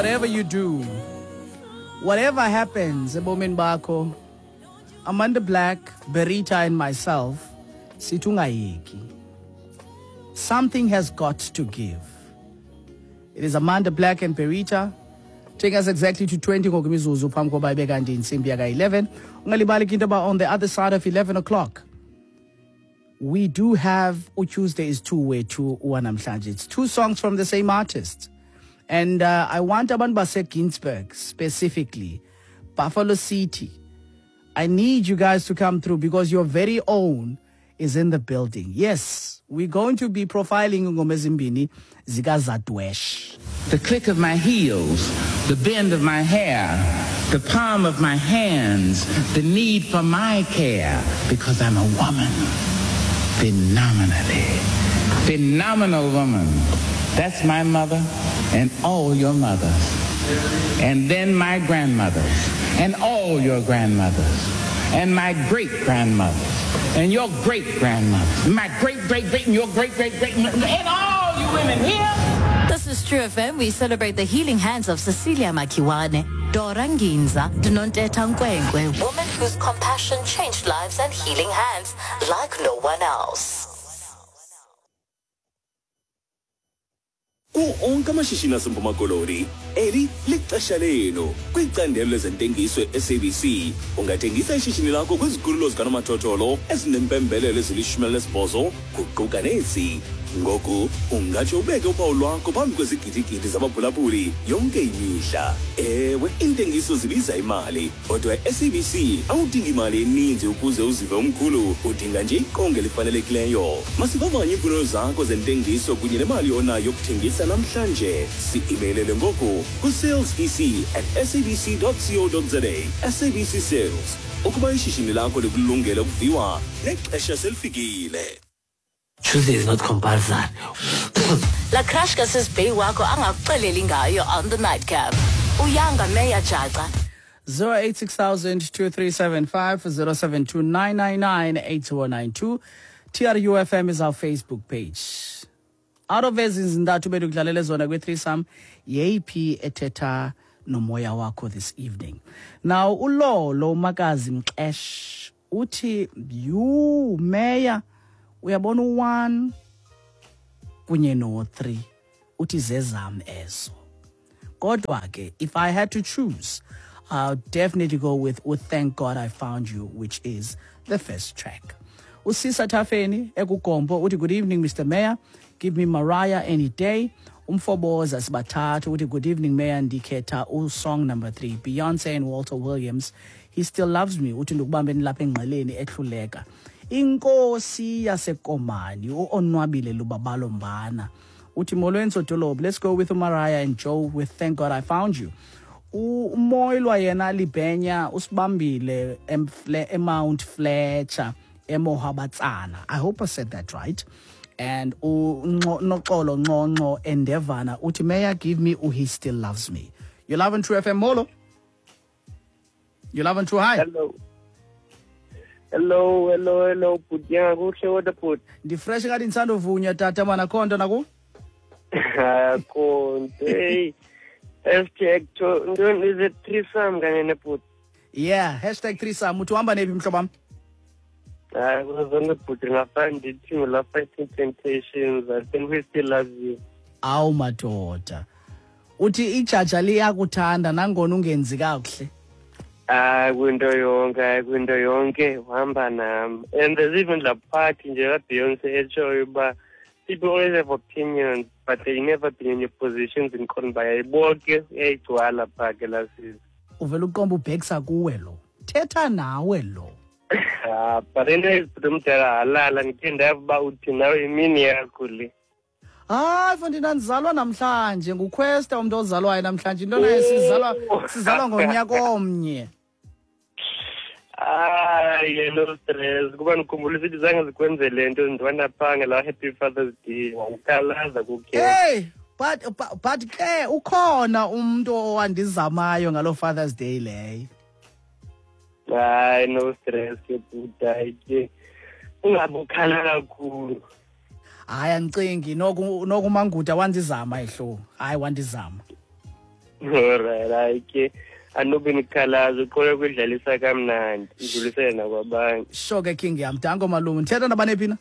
Whatever you do, whatever happens ebomini bakho, Amanda Black, Berita and myself sithi ungayeki. Something has got to give. It is Amanda Black and Berita taking us exactly to 20 ngoku imizuzu phambi koba ibe kanti intsimbi yaka-11. Ungalibali ke into yoba on the other side of 11 o'clock we do have uTuesday is two wethu wanamhlanje. It's two songs from the same artist. And I want abantu baseGinsberg specifically, Buffalo City. I need you guys to come through because your very own is in the building. Yes, we're going to be profiling ingoma ezimbini zikaZadwesh. The click of my heels, the bend of my hair, the palm of my hands, the need for my care, because I'm a woman. Phenomenally. Phenomenal woman. That's my mother and all your mothers. And then my grandmothers and all your grandmothers. And my great-grandmothers and your great-grandmothers. My great-great-great and your great-great-great and all you women here. This is True FM. We celebrate the healing hands of Cecilia Makiwane, Dora Nginza, Nontetha Nkwenkwe, women whose compassion changed lives and healing hands like no one else. Kuwo onke amashishini aseMpuma Koloni, eli lixesha lenu. Kwicandelo lezentengiso e-SABC, ungathengisa ishishini lakho kwizikhululo zikanomathotholo ezinempembelelo ezili-18 kuquka nezi. Ngoku ungatsho ubeke uphawu lwakho phambi kwezigidigidi zabaphulaphuli yonke imihla. Ewe, iintengiso zibiza imali, kodwa e-SABC awudingi imali eninzi ukuze uzive umkhulu, udinga nje iqonga elifanelekileyo. Masivavanye iimfuno zakho zentengiso kunye nemali onayo yokuthengisa namhlanje. Si-imeylele ngoku ku-salesec@sabc.co.za. SABC Sales. Ukuba ishishini lakho likulungele ukuviwa, nexesha selifikile. Tuesday is not compulsory. La crush kasisibheyi wakho angakuxeleli ngayo on the nightcap. Uyanga Meya Jaca. 086 2375 072 TRUFM is our Facebook page. Out of ezi zintathu bedikudlalele zona kwi-threesome, yeyiphi ethetha nomoya wakho this evening? Now uLolo Makazi Mxesh uthi, "You Meya, uyabona u-1 kunye no-3, uthi zezam ezo. Kodwa ke if I had to choose, I'll definitely go with Thank God I Found You, which is the first track." Usisa Tafeni ekugombo uthi, "Good evening, Mr. Mayor. Give me Mariah any day." Umfoboza Sibathathu uthi, "Good evening, Mayor. Ndikhetha usong number 3, Beyonce and Walter Williams, He Still Loves Me." Uthi ndikubambeni lapha engqeleni ehluleka. Inkosi yaseKomani uOnwabile Lubabalo Mbana uthi, "Molweni Sodolophu, let's go with Mariah and Joe with Thank God I Found You." Umoylwa yena Libhenya usibambile eMount Fletcher eMohabatsana. I hope I said that right. And uNoxolo Nxonxo Endevana uthi, "Mayor, give me He Still Loves Me." You love and True FM, molo. You love and True, hi. Hello. Hello, hello, hello, bhuti kuhle kodwa bhuti. Ndifresh ngathi ndisandovunya tata mana khonto naku? Khonto. Hey. Hashtag to ntoni, is it threesome kanye nebhuti? Yeah, hashtag threesome. Uthi uhamba nephi mhlobo wam? Hayi, kuzona bhuti ngafana ndithi ngula Fighting Temptations. I think We Still Love You. Awu madoda. Uthi ijaja liyakuthanda nangona ungenzi kakuhle. Hayi, kwinto yonke, hayi, kwinto yonke uhamba nam. And there's even la part nje kaBeyonce etshoyo uba people always have opinions but they never been in your positions in khona bayayiboke uyayigcwala phaa ke laa sisi. Uvela uqomba ubhekisa kuwe lo. Thetha nawe lo. Ah, but anyways, bhuti omdala halala ndikhe ndava uba uthi nawe imini yakho le. Hayi mfondini, andizalwa namhlanje, nguQuesta umntu ozalwayo namhlanje. Into naye sizalwa ngonyaka omnye. Hayi, no stress. Kuba ndikhumbula isithi zange zikwenze le nto ndibana phaa ngelaa Happy Father's Day wawukhalaza kukhe. Hey, but ke ukhona umntu owandizamayo ngaloo Father's Day leyo. Hayi, no stress ke bhuti, hayi ke ungabe ukhala kakhulu. Hayi, andicingi noku uManguda wandizama ehlo. Hayi, wandizama. Alright, hayi ke anobe nikhalazo, uqhole kudlalisa kamnandi, idlulisele nakwabanye. Sure ke king yam. Danko malume. Ndithetha nabani phi na?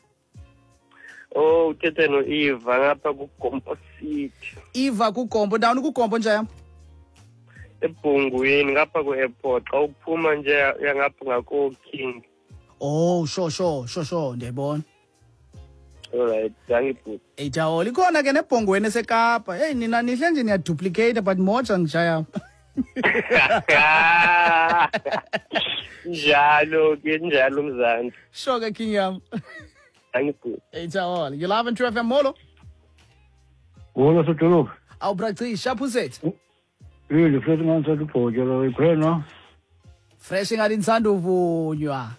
Oh, uthethe no-Eva ngapha kuGompo City. Eva kuGompo. Ndawoni kuGompo nje yam? Ebhungwini ngapha ku-airport. Xa uphuma nje yangapha ngako-King. Oh, sure, ndiyayibona. Alright, dankie bhuti. Ejawol ikhona ke nebhongweni eseKapa. Hey nina nihle nje niyaduplicate but moja ngijaya. Njalo ke njalo mzantsi. Sure ke king yam. Dankie bhuti. Ejawol, you live on True FM, molo. Molo sodolophu. Awu braci, sharp usethu. Yini futhi ngantsi ubhoke lo ikhwena. Fresh ngathi ndisanda uvunywa.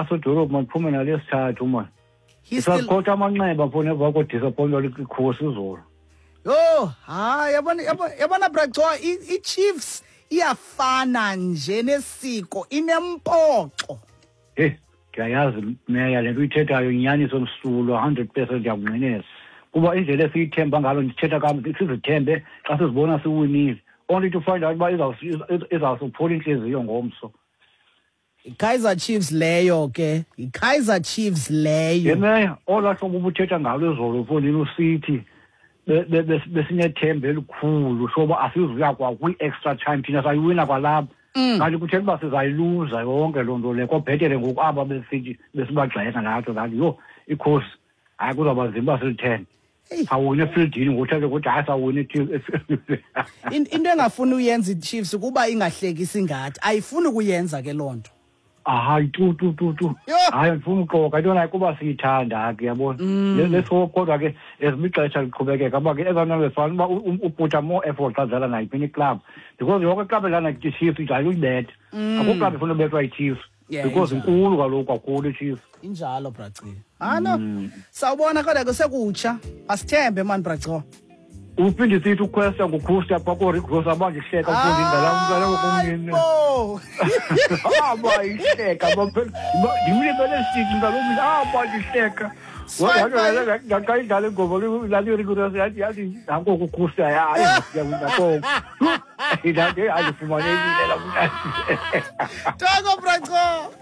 Sodolophu mandiphume nalesithathu man. Isakhotha amanxeba phone emva kodisappointwa likhosi izolo. Yho, hayi yabona braco, i-Chiefs iyafana nje nesiko, inempoxo. Hey, ndiyayazi meya le nto uyithethayo inyaniso msulwa 100% ndiyakunqinela. Kuba indlela esiyithemba ngalo ndithetha kam sizithembe xa sizibona siwinile. Only to find out uba izawusuphola intliziyo ngomso. I-Kaizer Chiefs leyo ke, i-Kaizer Chiefs leyo. Meya, olaa hlobo ubuthetha ngalo izolo mfondini usithi besinethemba elikhulu soba asizuya kwa kwi-extra time thina sayiwina kwalapha. Kanti kuthetha uba sizayiluza yonke loo nto leyo. Kobhetele ngoku aba besithi besibagxeka nathi ngathi yho ikhosi hayi kuzawuba nzima uba silithenge. Sawina efieldini ngothathe ukuthi hayi sawina efieldini. Into engafuni uyenza iChiefs kuba ingahlekisi ngathi ayifuni ukuyenza ke loo nto. Hayi tu. Hayi ndifuna uxoka into nayo kuba siyithanda ke yabona. Leso kodwa ke ezimixesha liqhubekeka kuba ke ezona befana uba uputha more effort xa dlala nayiphi iclub because yonke iclub edlala iChiefs idlala uyibetha. Akukho club ifuna ubethwa iChiefs because inkulu kaloku kakhulu iChiefs. Injalo braci. Ano sawubona kodwa ke sekutsha asithembe man braco. Uphinde sithi uquesta ngukhusta pha ko-Rick Ross abandihleka mfundi indlela umntwana wokumnini. Abayihleka ndimlibele sithi mntana abandihleka. Ndaxa idlala ingoma lali Rick Ross yathi nanko kukhusta hayi ndiyakoko. Ndathi andifumanekile la mntana. Tango braco.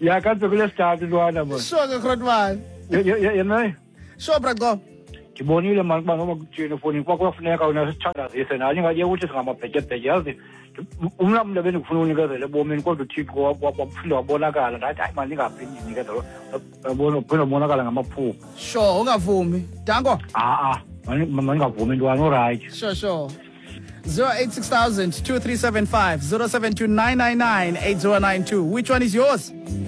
Ya kanti kulesithathu ntwana man. Sure ke Grootman. Yena. Sure braco. Ndibonile mani ukuba noba kuthini efowunini kuba kuyafuneka wena sithandazise nani ingathi ukuthi singamabhetyebhetye yazi umna mntu ebendikufuna unikezela ebomini kodwa uThixo waphinde wabonakala ndathi hayi mani ndingaphi ndinikezela yabona uphinde wabonakala ngamaphupha. Sure ungavumi danko. A-a mandingavumi ntwana orayithi. Sure 086 000 2375 072 999 8092. Which one is yours?